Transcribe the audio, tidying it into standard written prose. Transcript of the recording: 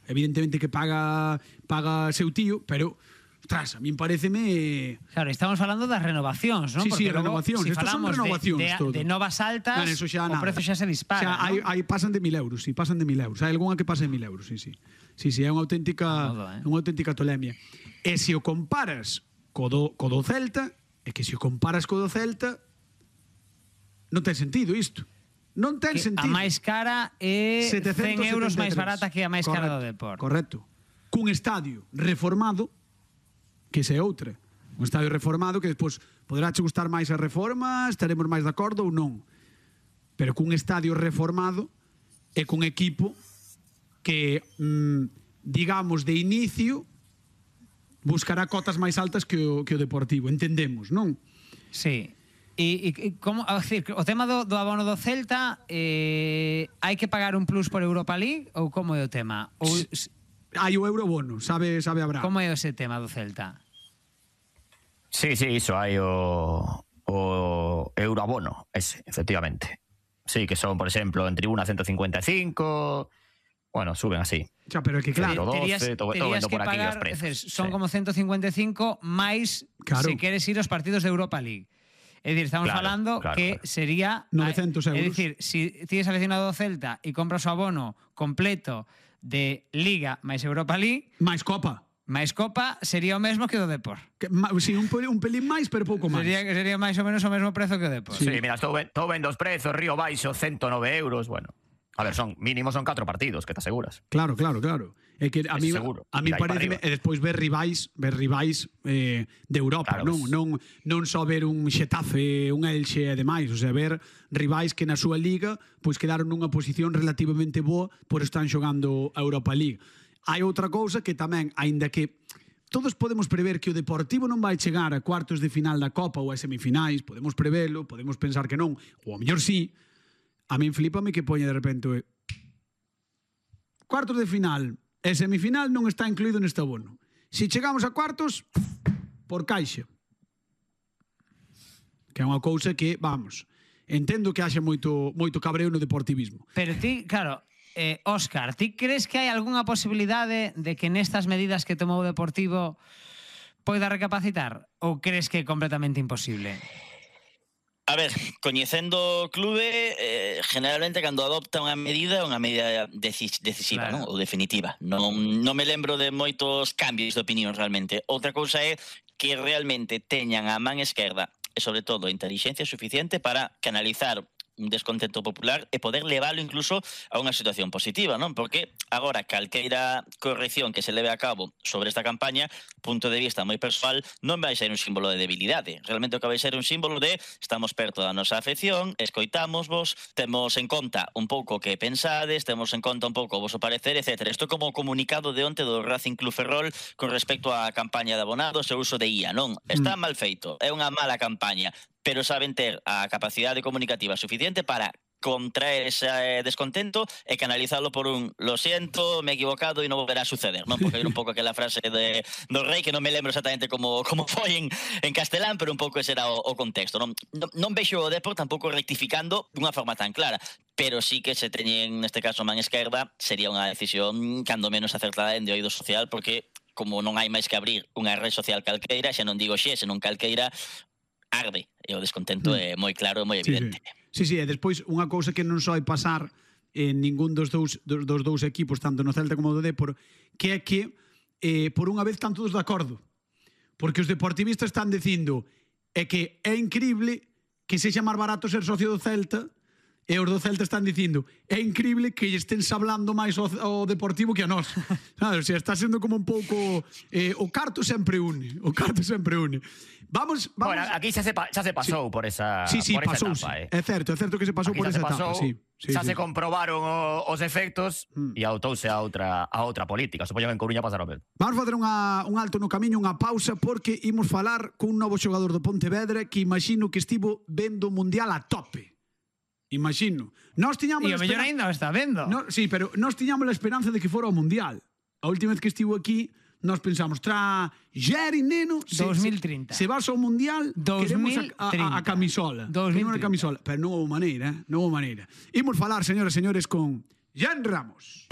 evidentemente que paga seu tío, pero ostras, a min pareceme... Claro, estamos falando das renovacións, non? Sí, renovacións. Si Estas son renovacións todo. De novas altas, o prezo xa se dispara, non? Aí pasan de 1.000 euros, sí, pasan de 1.000 euros. Hai algunha que pasa de 1.000 euros, sí. Sí, é unha auténtica tolemia. E se o comparas co do Celta, non ten sentido isto. Non ten sentido. A máis cara é 100 euros máis barata que a máis cara do Depor. Correcto. Cun estadio reformado, que esa é outra. Un estadio reformado que despois poderá che gustar máis a reforma, estaremos máis de acordo ou non. Pero cun estadio reformado e cun equipo que, digamos, de inicio buscará cotas máis altas que o Deportivo, entendemos, non? Sí. E como, a decir, o tema do abono do Celta, hai que pagar un plus por Europa League ou como é o tema? Hai o eurobono, sabe Abraham. Como é ese tema do Celta? Sí, iso hai o euroabono, ese, efectivamente. Sí, que son, por exemplo, en tribuna 155, bueno, suben así. Xa, pero é que claro, terías que pagar, son como 155 máis se queres ir aos partidos de Europa League. É dicir, estamos falando que sería 900 euros. É dicir, si tienes seleccionado o Celta e compras o abono completo de Liga máis Europa League, máis Copa sería o mesmo que o do Depor. Si, un pelín máis, pero pouco máis. Sería máis ou menos o mesmo prezo que o Depor. Sí, mira, estou vendo os prezos, Río Baixo 109 euros, bueno. A ver, mínimo son 4 partidos, que te aseguras. Claro. É que a mí parece, e despois ver rivais de Europa, claro, non só ver un Xetafe, un Elxe e demais, o sea, ver rivais que na súa liga pois quedaron nunha posición relativamente boa por están xogando a Europa League. Hai outra cousa que tamén, aínda que todos podemos prever que o Deportivo non vai chegar a cuartos de final da Copa ou a semifinais, podemos prevelo, podemos pensar que non, ou a mellor sí. A min flipame que poña de repente cuartos de final e semifinal non está incluído neste abono. Se chegamos a cuartos, por caixa. Que é unha cousa que, vamos, entendo que haxa moito cabreo no deportivismo. Pero ti, claro, Óscar, ti crees que hai algunha posibilidade de que nestas medidas que tomou o Deportivo poida recapacitar? Ou crees que é completamente imposible? A ver, coñecendo o clube, generalmente cando adopta unha medida decisiva, claro, non? Ou definitiva. Non me lembro de moitos cambios de opinión realmente. Outra cousa é que realmente teñan a man esquerda e, sobre todo, a intelixencia suficiente para canalizar un descontento popular e poder leválo incluso a unha situación positiva, non? Porque agora calqueira corrección que se leve a cabo sobre esta campaña, punto de vista moi persoal, non vai ser un símbolo de debilidade. Realmente o que vai ser un símbolo de estamos perto da nosa afección, escoitámosvos, temos en conta un pouco que pensades, temos en conta un pouco o voso parecer, etc. Isto como comunicado de onte do Racing Club Ferrol con respecto á campaña de abonados e o uso de IA, non? Está mal feito, é unha mala campaña, pero saben ter a capacidade comunicativa suficiente para contraer ese descontento e canalizarlo por un lo siento, me he equivocado e non volverá a suceder, non? Porque hai un pouco aquela frase do rei que non me lembro exactamente como foi en castelán, pero un pouco ese era o contexto, non? Non vexo o Depor tampouco rectificando dunha forma tan clara, pero sí que se teñen neste caso man esquerda sería unha decisión cando menos acertada en de oído social, porque como non hai máis que abrir unha red social calqueira, xa non digo senón calqueira, arde, e o descontento é moi claro e moi evidente. Sí, e despois unha cousa que non só hai pasar en ningún dos dous equipos, tanto no Celta como no Depor, que é que por unha vez están todos de acordo. Porque os deportivistas están dicindo que é increíble que sexa máis barato ser socio do Celta, e os do Celta están dicindo é increíble que estén hablando máis ao Deportivo que a nós. O sea, está sendo como un pouco o carto sempre une. Vamos. Bueno, aquí xa se pasou por esa pasou, etapa. É certo que se pasou por esa etapa. Xa se comprobaron os efectos e autouse a outra política. Supoño que en Coruña pasará o mesmo. Vamos facer un alto no camiño, unha pausa, porque imos falar cun novo xogador do Pontevedra que imagino que estivo vendo o Mundial a tope. Imagino. E o mellor ainda o está vendo. Sí, pero nós tiñamos a esperanza de que fora o Mundial. A última vez que estivo aquí, nós pensamos, Jerry, neno, 2030. Se vas ao Mundial, queremos a camisola. Queremos a camisola. Pero non houve maneira, Imos falar, señoras e señores, con Jan Ramos.